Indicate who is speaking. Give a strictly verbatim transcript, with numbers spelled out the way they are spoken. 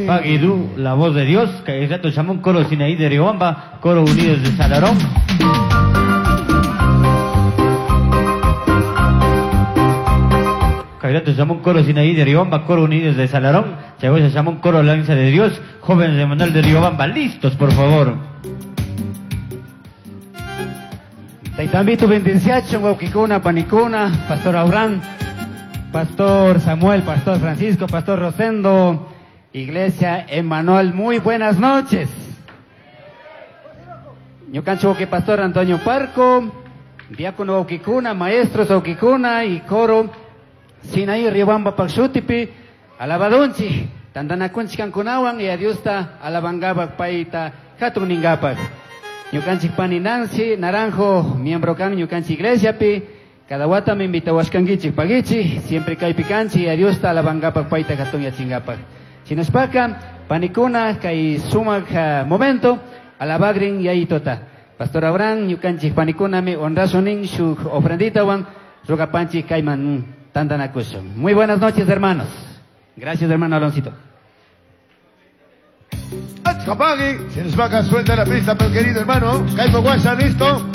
Speaker 1: Paguidú, la voz de Dios, Cairato Chamón, Coro Sinaí de Riobamba, Coro Unidos de Salarón. Cairato Chamón, Coro Sinaí de Riobamba, Coro Unidos de Salarón, Chagoya Chamón, Coro Lanza de Dios, Jóvenes de Manuel de Riobamba, listos, por favor.
Speaker 2: Taytambito bendenciacho, wawqikuna, panikuna, Pastor Abraham, Pastor Samuel, Pastor Francisco, Pastor Rosendo, Iglesia Emanuel, muy buenas noches. Ñukancho que Pastor Antonio Parco, Diácono wawqikuna, maestros wawqikuna y coro Sinaí Riobamba Pakshutipi, alabadunchi, tantanakunchi kankunawan y a Diosta alabangapak payta hatun ningapak. Ñukanchik pani Nancy Naranjo, miembro kan ñukanchik iglesiapi, cada wata me invitawashkankichik pagichi, siempre kaypi kanchik, a Diosta alabangapak payta hatun yachingapak. Shinashpaka, panikuna, kay sumak uh, momento, alabagrin yayitota. Pastor Abraham, ñukanchik panikunami honrasunin shuk ofrenditawan, rugapanchik kayman tantanakushun. Muy buenas noches, hermanos. Gracias, hermano Aloncito.
Speaker 3: Capagui, se nos va a suelta la pista, pero querido hermano. Caipo Guasa, listo.